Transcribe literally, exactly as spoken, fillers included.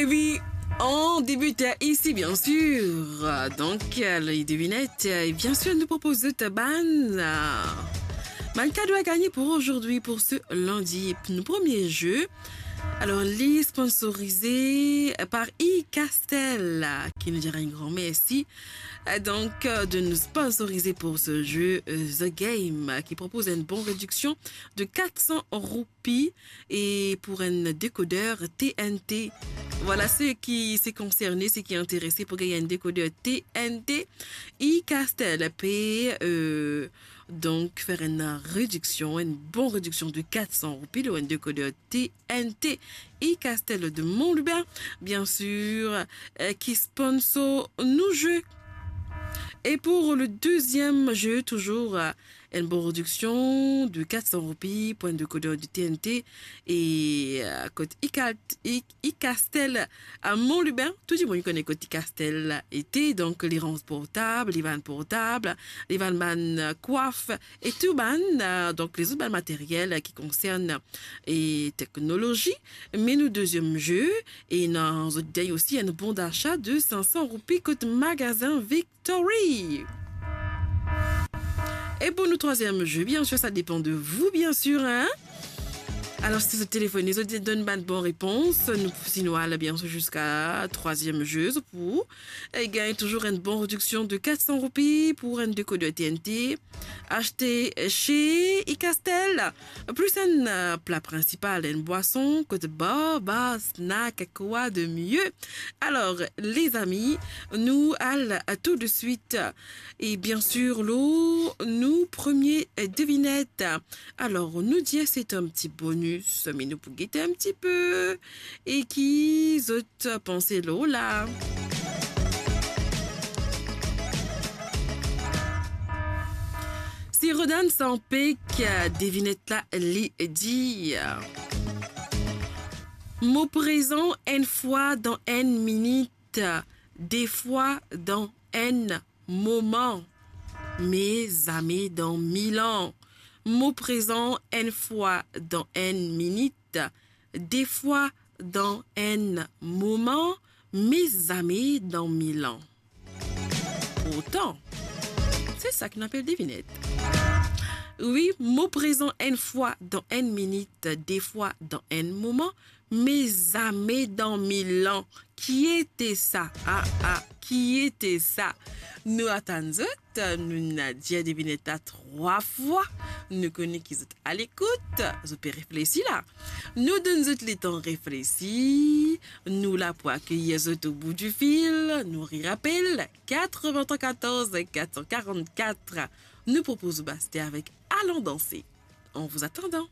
Et puis, on débute ici, bien sûr. Donc, euh, les devinettes, euh, et bien sûr, nous propose de bann, euh, bann kado à gagner pour aujourd'hui, pour ce lundi. Notre premier jeu, alors, li sponsorisé par E-Castel, qui nous dira un grand merci, euh, donc, euh, de nous sponsoriser pour ce jeu, euh, The Game, euh, qui propose une bonne réduction de quatre cents roupies et pour un décodeur T N T. Voilà, ceux qui sont concernés, ceux qui sont intéressés pour gagner un décodeur T N T, E-Castel peut, euh, donc faire une réduction, une bonne réduction de quatre cents roupies, un décodeur T N T. E-Castel de Mont-Lubin, bien sûr, euh, qui sponsor nos jeux. Et pour le deuxième jeu, toujours, euh, une bonne réduction de quatre cents roupies pour un décodeur de T N T. Et, euh, côté E-Cal-, E-, E-Castel à Mont-Lubin, tout le monde connaît côté E-Castel été, donc les ranges portables, les vannes portables, les vannes, euh, coiffe et tout bann, euh, donc les autres bann matériel, euh, qui concerne et technologie. Mais nos deuxième jeu, et nous avons aussi un bon d'achat de cinq cents roupies côté magasin Victory. Et pour nos troisième jeu, bien sûr, ça dépend de vous, bien sûr, hein. Alors, si vous téléphonez, vous donnez une bonne réponse, nous, sinon, allez bien sûr jusqu'à troisième jeu, pour, et gagner toujours une bonne réduction de quatre cents roupies pour un décodeur T N T. Acheté chez E-Castel, plus un, euh, plat principal, une boisson, côté bar, bar, snack, quoi de mieux. Alors, les amis, nous allons tout de suite, et bien sûr, lo, nos premières devinettes. Alors, nous dire c'est un petit bonus, mais nous pouvons guetter un petit peu. Et qui zot panse lo la? Si Rodan Sampek, devinet la li dir, mo prezan enn fwa dan enn minit, de fwa dan enn moman, me zame dan mil an. Mo prezan enn fwa dan enn minit, de fwa dan enn moman, me zame dan mil an. Pourtan, se sa ki nou apel devinet. Wi, mo prezan enn fwa dan enn minit, de fwa dan enn moman, me zame dan mil an. Kiete sa? Ah, ah, kiete sa? Nou atann zot, nou ena dir devinet la trwa fwa. Nou kone ki zot a lekout, zot pe reflesi la. Nou donn zot letan reflesi, nou la pou akeyir zot o bout di fil, nou rirapel, quatre-vingt-quatorze quatre cent quarante-quatre. Nou propoz ou baste avek Allons danser. En vous attendant.